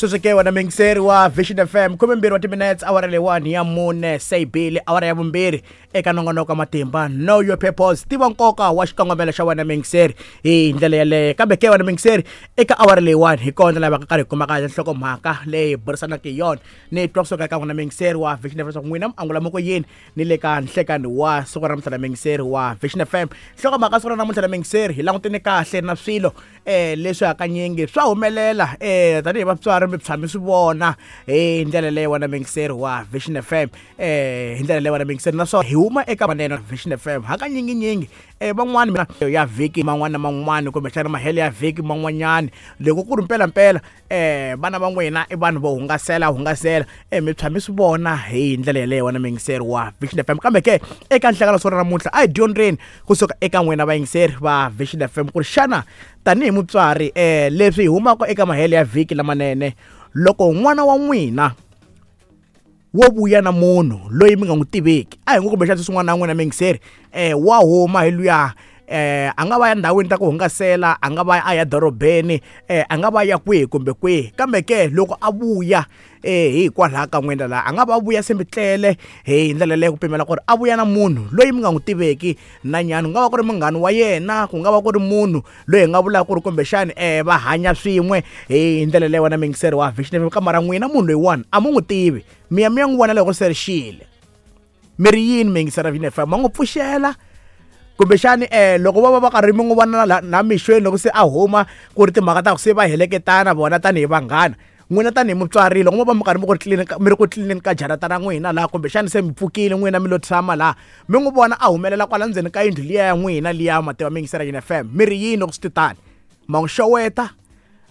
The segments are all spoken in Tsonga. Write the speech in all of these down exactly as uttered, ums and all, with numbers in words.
Sweswi ke wena muyingiseri wa Vision F M, khumembirhi wa timinetse awara leyiwani ya mune se yi bile awara ya vumbirhi eka nongonoko wa matimba Know Your Purpose, tiva nkoka wa xikongomelo xa wena muyingiseri hi ndlela yeleyo. Kambe ke wena muyingiseri eka awara leyiwani hi kona laha va ka karhi hi kumaka nhlokomhaka leyi burisanaka hi yona. Ni twa kusuka eka n'wina muyingiseri wa Vision F M leswaku n'wina mi angula mi ku yini ni le ka nhlekani wa siku ra namuntlha na muyingiseri wa Vision F M. Nhlokomhaka siku ra namuntlha na muyingiseri hi langutene kahle na swilo eh leswi hakanyingi swa humelela eh tanihi vatswari mi tshami swi vona hi ndlela leyi wena muyingiseri wa Vision F M, eh hi ndlela leyi wena muyingiseri, naswona hi huma eka manene Vision F M hakanyinginyingi eh van'wani mina ya vhiki man'wana na man'wana kumbexana mahelo ya vhiki man'wanyana loko ku ri mpelampela eh vana va n'wina i vanhu vo hungasela hungasela eh mi tshami swi vona hi ndlela yeleyo wena muyingiseri wa Vision F M. Kambe ke eka nhlekano siku ra namuntlha a hi dyondzeni kusuka eka n'wina vayingiseri va Vision F M ku ri xana tanihi mutswari eh leswi hi humaka eka mahelo ya vhiki lamanene, loko n'wana wa n'wina wo vuya na munhu loyi mi nga n'wi tiveki, a hi ngo kumbexana sweswi n'wana wa n'wina muyingiseri eh wa huma hi luya eh a nga va ya ndhawini ta ku hungasela, a nga va a ya dorobeni, eh a nga va ya kwihi kumbe kwihi, kambe ke loko a vuya eh hikwalaho ka n'wina laha a nga va vuya se mi tlele hi ndlela leyi ku pimela ku ri a vuya na munhu loyi mi nga n'wi tiveki na nyana, ku nga va ku ri munghana wa yena, ku nga va ku ri munhu loyi hi nga vulaka ku ri kumbexani eh va hanya swin'we hi ndlela leyi wena muyingiseri wa Vision F M, kamara n'wina munhu loyiwani a mu n'wi tivi, mi ya mi ya n'wi vona loko se ri xile, mi ri yini muyingiseri wa Vision F M, ma n'wi pfuxela kumbexani eh loko va va va karhi mi n'wi vona la na mixweni loko se a huma ku ri timhaka ta ku se va heleketana vona tanihi vanghana, n'wina tanihi mutswari loko mo va mi karhi mi ku ri clean mi ri ku clean ka jarata ra n'wina laha kumbexani se mi pfukile n'wina mi lo tshama laha mi n'wi vona a humelela kwala ndzeni ka yindlu liya ya n'wina liya mativa muyingiseri Vision F M, mi ri yini loko swi ti tani, ma n'wi xeweta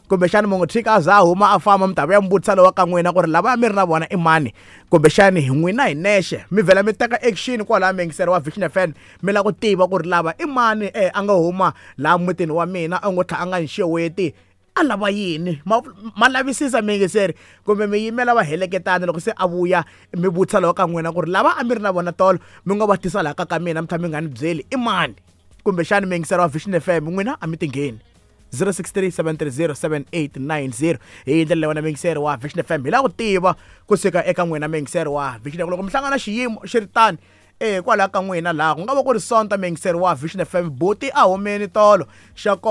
kumbexani mi n'wi tshika a za a huma a famba, mi ta vuya mi vutisa lowa ka n'wina ku ri lava mi ri na vona i mani, kumbexani hi n'wina hi nexe mi vhela mi teka action kwalaya muyingiseri wa Vision F M, mi lava ku tiva ku ri lava i mani eh a nga huma laha mutini wa mina a ngo tlha a nga ni xeweti, a lava yini, ma, ma lavisisa muyingiseri kumbe mi yimela va heleketana loko se a vuya mi vutisa lowa ka n'wina ku ri lava a mi ri na vona tolo mi nga va tisa laha ka ka mina mi tlha mi nga ni byeli i mani, kumbexani muyingiseri wa Vision F M n'wina a mi tingheni. Zero six three seven three zero seven eight nine zero hi ndlela leyi wena muyingiseri wa Vision F M hi lava ku tiva kusuka eka n'wina muyingiseri wa Vision F M loko mi hlangana xiyimo xi ri tani eh kwalaho ka n'wina laha ku nga va ku ri Sonta muyingiseri wa Vision F M buti a humeni tolo xa kona.